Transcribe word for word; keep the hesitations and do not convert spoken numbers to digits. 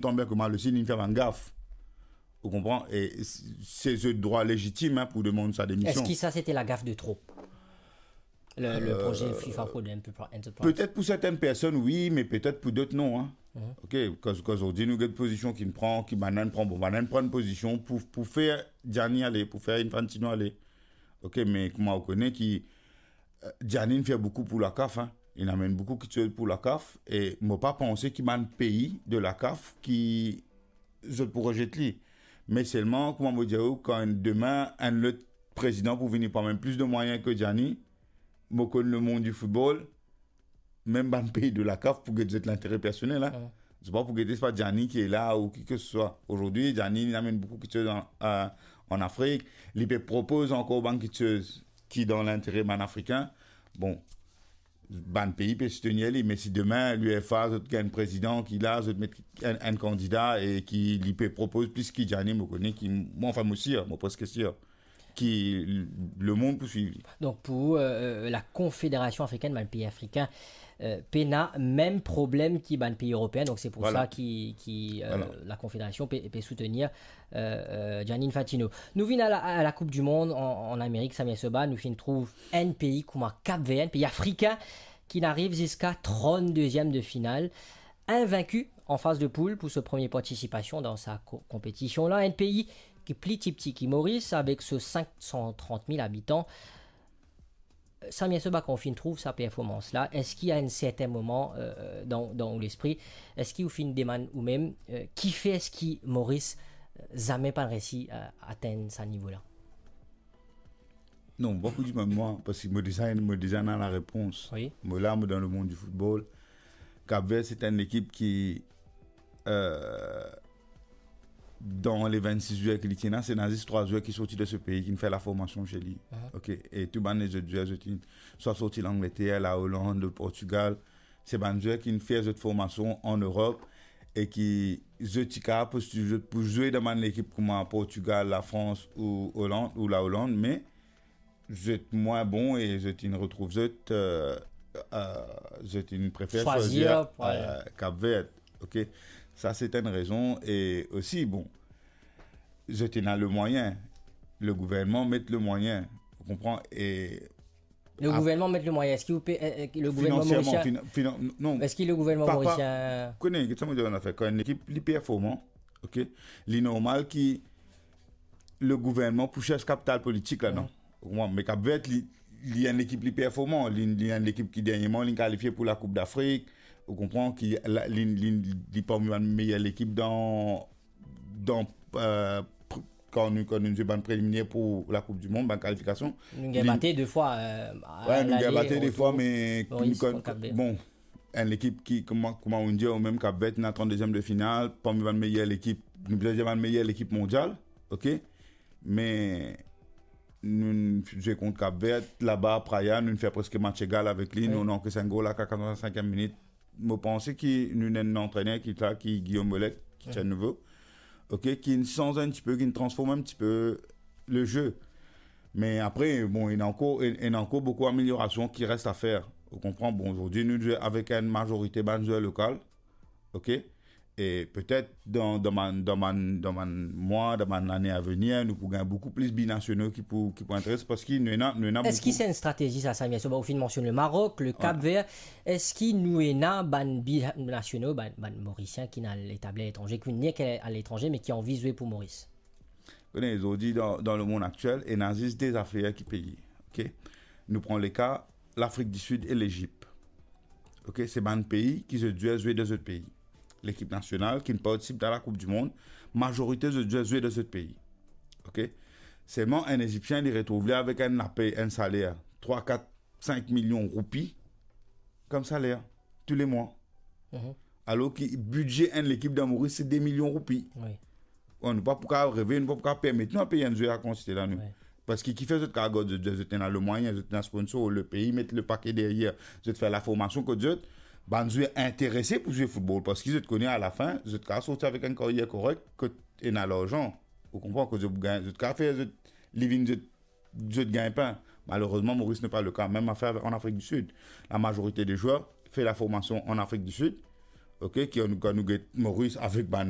Tanbien kouma le Sid, inn fer bann gaf. Ou konpran? E se, se zot drwa lezitim, hein, pou demann sa demision. Eski sa se te lagaf de trop? Le, le Euh, proze FIFA Pro Enterpri-, Enterprise. Petet pou sertenn personn, wi, me petet pou dot, non, hein. Mhm. Ok, kan, kan zordi nou get pozision ki pran, ki bann-la pran, bon, bann-la pran enn pozision pou, pou fer Gianni ale, pou fer Infantino ale. Ok, me kouma ou kone ki, euh, Gianni inn fer boukou pou la CAF, hein. Inn amenn boukou kiksoz pou la CAF, e mo pa panse ki bann pei de la CAF ki zot pou rezet li. Me selman, kouma mo dir ou, kan demin, enn lot prezidan pou vini pou amenn plis de mwayin ki Gianni, mo konn lemond di foutbol, mem bann pei de la CAF pou get zot lintere personel, hein. Mm. Se pa pou gete, se pa Gianni ki la ou ki ke se swa. Zordi, Gianni, li amenn boukou kiksoz an, a, an Afrik. Li pe propoz ankor bann kiksoz ki dan lintere bann Afrikin. Bon, bann pei pe soutenir li, me si demin, l'UEFA, zot gagn prezidan ki la, zot met enn, enn kandida e ki li pe propoz plis ki Gianni, mo kone ki, mwa, anfin, mo sir, mo preske sir ki lemond pou swiv li. Donk, pou, euh, euh, la Confédération africaine, bann pei afrikin, euh, pena mem problem ki bann pei eropeen. Donk, se pou sa ki, ki, euh, la Confédération pe, pe soutenir, euh, euh, Gianni Infantino. Nou vinn a la, a la Coupe du Monde an, an Amerik, Samia Soba, nou finn trouv enn pei kouma Cap Vert, enn pei afrikin, ki'nn ariv ziska tranndeziam de final, invaincu an faz de poul pou so premie partisipasion dan sa ko-, konpetision-la. Enn pei ki pli tipti ki Moris, avek so sink san trant mil abitan. Samia Soba, kan ou finn trouv sa performans-la, eski a enn serten moman, euh, dan, dan ou lespri, eski ou finn demann oumem, euh, kifer eski Moris, euh, zame pa reysi, euh, atenn sa nivo-la? Non, mo pa pou dir mem mwa, parski mo deza, mo deza ena larepons. Wi. Mo la, mo dan lemond di foutbol. Cap Vert, se enn lekip ki, euh, dan le vennsis zwer ki li ti ena, se ena zis trwa zwer ki sorti de se pei, ki'nn fer laformasion se li. Mhm. Ok, e tou bann lezot zwer, zot inn swa sorti Langleter, la Oland, Portigal. Se bann zwer ki'nn fer zot formasion an Erop e ki zot ti kapav postil zot pou zwe dan bann lekip kouma Portigal, Lafrans ou Oland, ou la Oland, me zot mwin bon e zot inn retrouv zot, euh, euh, zot inn prefer swazir, swazir, euh, Cap Vert. Ok? Sa, se enn rezon. E osi, bon, zot ena le mwayin. Le gouvernman met le mwayin. Ou konpran? E le gouvernman met le mwayin. Eski ou pe, euh, euh, le gouvernman morisien, finan-, non. Eski le gouvernman morisien, kone, get sa mo dir, ena fer, kan enn lekip li performan, ok, li normal ki le gouvernman pou sers kapital politik ladan. Mm. Ou konpran? Me Cap Vert, li, li enn lekip li performan. Li, li enn lekip ki dernierman, li kalifie pou la Coupe d'Afrique. Ou konpran? Ki la, li, li, li parmi bann meyer lekip dan, dan, euh, pr-, kan nou, kan nou zwe bann preliminèr pou la Coupe du Monde, bann kalifikasion. Nou gagn bate de fwa, euh, a lale, retou. Wi, nou gagn bate de fwa, me Moris, kan, Cap Vert, bon, enn lekip ki, kouma, kouma ou dir, ou mem Cap Vert, ena tranndeziam de final, parmi bann meyer lekip, nou bizin dir bann meyer lekip mondial, ok? Me nou zwe kont Cap Vert, laba, Praia, nou fer preske match egal avek li, wi, nou, nou ankes enn gol a katrevin-sinkiem minit. Mo panse ki nou ena enn antrener ki la, ki Guillaume Bollet, ki, wi, ti enn nouvo, ok, ki'nn sanz enn tipe, ki'nn transform enn tipe le jeu. Me apre, bon, ena ankor, ena ankor boukou ameliorasion ki res a fer. Ou konpran? Bon, zordi, nou zwe avek enn mazorite bann zwer lokal, ok? E petet dan, dan bann, dan bann, dan bann mwa, dan bann lane a venir, nou pou gagn boukou plis binasional ki pou, ki pou enteres, parski nou ena, nou ena boukou. Eski se enn stratezi sa, Samia Soba? Ou finn mansionn le Marok, le Cap Vert. Eski nou ena bann binasional, bann, bann Morisien ki'nn al etabli aletranze, ki finn nek aletranze, me ki anvi zwe pou Moris? Kone, zordi dan, dan lemond aktiel, ena zis de zafer ki peye, ok? Nou pran leka Lafrik di Sid e Lezip. Ok, se bann pei ki zot zwer zwe dan zot pei. Lekip nasional ki'nn partisip dan la Coupe du Monde, mazorite zot zwer zwe dan zot pei. Ok? Selman, enn Ezipsien, li retrouv li avek enn lapey, enn saler, trwa, kat, sink milion roupi kom saler, tou le mwa. Mhm. Alor ki bidze enn lekip dan Moris, se de milion roupi. Wi. Bon, nou pa pou kapav reve, nou pa pou kapav permet nou a pey enn zwer sa kantite la, nou. Wi. Parski kifer zot kapav gard zot, zot ena le mwayin, zot ena sponsor, le pei met le pake deryer, zot fer laformasion kot zot, bann zwer interese pou zwe foutbol, parski zot kone alafin, zot kapav sorti avek enn karyer korek, kot ena larzan. Ou konpran, kot zot gagn, zot kapav fer zot living, zot, zot gagn pin. Malerezman, Moris n'est pas le cas. Mem zafer an Afrik di Sid. Lamazorite de zwer fer laformasion an Afrik di Sid. Ok, ki kan nou get Moris avek bann